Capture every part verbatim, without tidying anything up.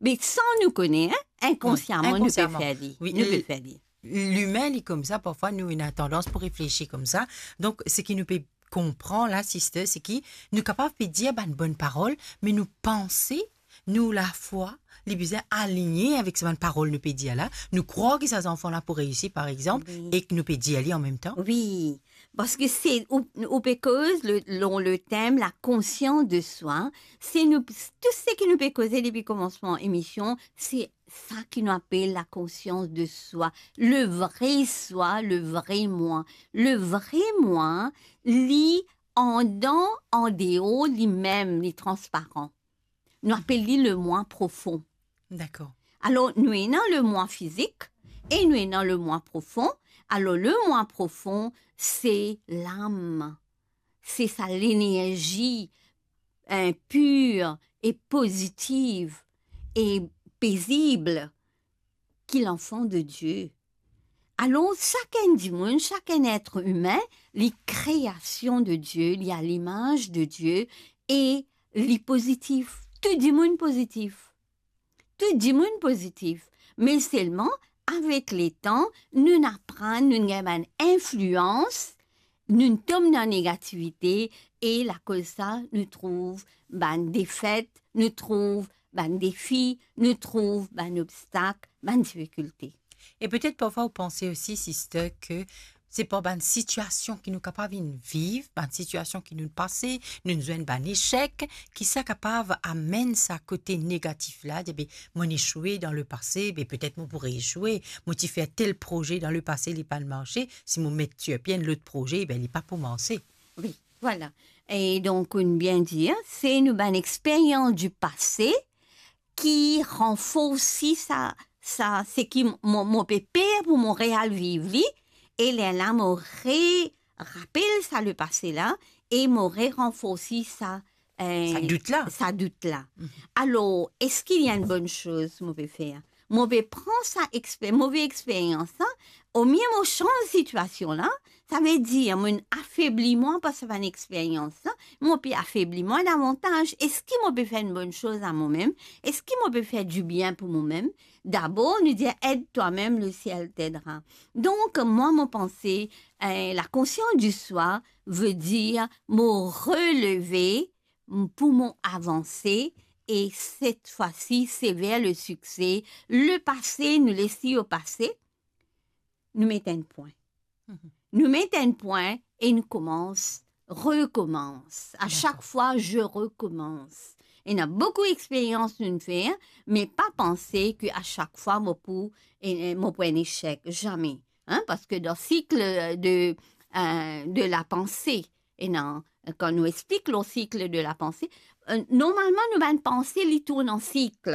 Me san nou kone, hein, inkonsiaman, nou pe fer li. Wi, nou pe fer li. Limin, li koumsa, parfwa nou ena tandans pou reflesi koumsa. Donk, seki nou pe konpran la, sister, seki nou kapav pe dir bann bonn parol, me nou panse, nou lafwa, li bizin aligne avek sa bann parol nou pe dir la. Nou krwar ki sa zanfan la pou reisi, par exanp, wi, e ki nou pe dir li an mem tan. Wi, parski se, ou, ou pe koz le, lor le tem la konsians de swa. Se nou, tou seki nou pe koze depi koumansman emision, se sa ki nou apel la konsians de swa, le vre swa, le vre mwa. Le vre mwa, li andan, andeor, limem, li transparan. Nou apel li le mwa profon. Dakor. Alor, nou ena le mwa fizik e nou ena le mwa profon. Alor, le mwa profon, se lam. Se sa lenerzi, eh, pir e pozitiv e pezib ki lanfan de Die. Alor, sakenn dimoun, sakenn etre imin, li kreasion de Die, li a limaz de Die e li pozitif. Tou dimoun pozitif. Tou dimoun pozitif. Me selman, avek letan, nou'nn aprann, nou'nn gagn bann inflians, nou'nn tom dan negativite, e lakoz sa, nou trouv bann defet, nou trouv bann defi, nou trouv bann obstak, bann difikilte. E petet parfwa ou panse osi, sister, ke se par bann sitiasion ki nou kapav inn viv, bann sitiasion ki nou pase, nou zwenn bann esek, ki sa kapav amenn sa kote negatif la, dir, be, mo'nn esoue dan lepase, be, petet mo pou reesoue, mo ti fer tel proze dan lepase, li pa'nn marse, si mo met lipie enn lot proze, be, li pa pou marse. Wi, vwala. E donk, ou bien dir, se nou bann experience du passé ki ranforsi sa, sa, seki mo, mo pe per pou mo real viv li, e lerla mo re rapel sa lepase la, e mo re ranforsi sa, eh, sa dout la. Sa dout la. Mhm. Alor, eski li enn bonn soz mo pe fer? Mo pe pran sa exper-, move experians la, omie mo sanz sitiasion la, savedir mo'nn afebli mwa par sa bann experians la, mo pe afebli mwa davantaz. Eski mo pe fer enn bonn soz a momem? Eski mo pe fer dibien pou momem? Dabor, nou dir, aide toi-même, le ciel t'aidera. Donk, mwa, mo panse, eh, la conscience du soi veut dire mo releve, m-, pou mo avanse, e cette fois-ci, c'est vers le succès. Lepase, nou les li o pase, nou met enn pwin. Mhm. Nou met enn pwin e nou koumans, rekoumans. A sak fwa, je recommence. Dakor. Ena boukou experians nou'nn fer, me pa panse ke a sak fwa mo pou, e, e, mo pou enn esek. Zame. Hein, parski dan sik de, eh, de la panse, ena, kan nou explik lor sik de la panse, eh, normalman nou bann panse li tourn an sik.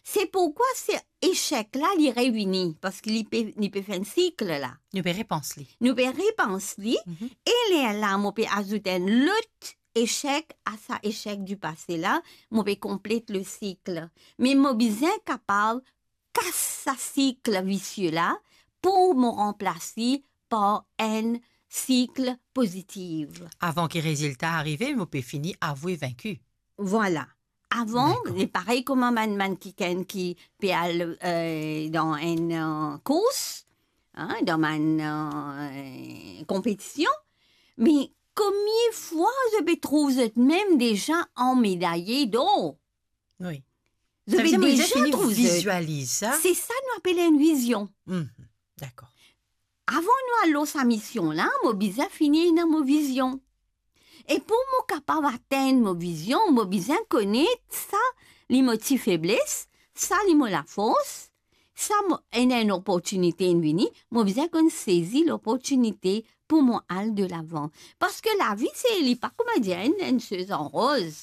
Se pourkwa se esek la, li revini, parski li pe, li pe fer enn sik la. Nou pe repans li. Nou pe repans li, mhm, e lerla, mo pe azout enn lot esek a sa esek du pase la, mo pe konplet le sik. Me mo bizin kapav kas sa sik visie la pou mo ranplas li par enn sik pozitif. Avan ki rezilta arive, mo pe fini avoue vaincu. Vwala. Avan, dakor, li parey kouma bann, bann kikenn ki pe al, eh, dan enn, eh, kours, hein, dan bann, eh, konpetision, me komie fwa zot pe trouv zot mem deza an medaye dor? Wi. Zot pe deza trouv zot. Sa vedir mo bizin fini vizualiz sa. Se sa nou apel enn vizion. Mhm. Dakor. Avan nou al lor sa mision la, mo bizin fini ena mo vizion. E pou mo kapav atenn mo vizion, mo bizin kone sa li mo ti febles, sa li mo lafors, sa mo, ena enn oportinite inn vini, mo bizin konn sezi loportinite pou mo al delavan. Parski lavi, se, li pa kouma dir enn, enn soz an roz.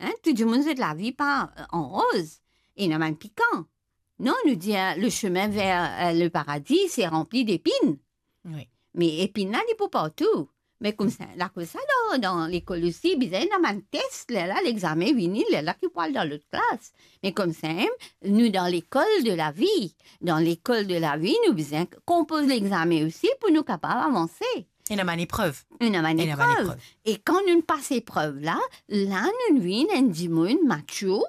Hein, tou dimoun zot lavi pa, eh, an roz. Ena bann pikan. Non, nou dir, eh, le chemin vers, eh, le paradis, c'est rempli d'épines. Wi. Me epinn la, li pou partou. Me koumsa, lakoz sa, dan, dan lekol osi, bizin ena bann tes, lerla lexame vini, lerla ki pou al dan lot klas. Me koumsa, nou dan lekol de lavi. Dan lekol de lavi, nou bizin konpoz lexame osi pou nou kapav avanse. Ena bann eprev. Ena bann eprev. E kan nou pas eprev la, la nou vinn enn dimoun mature,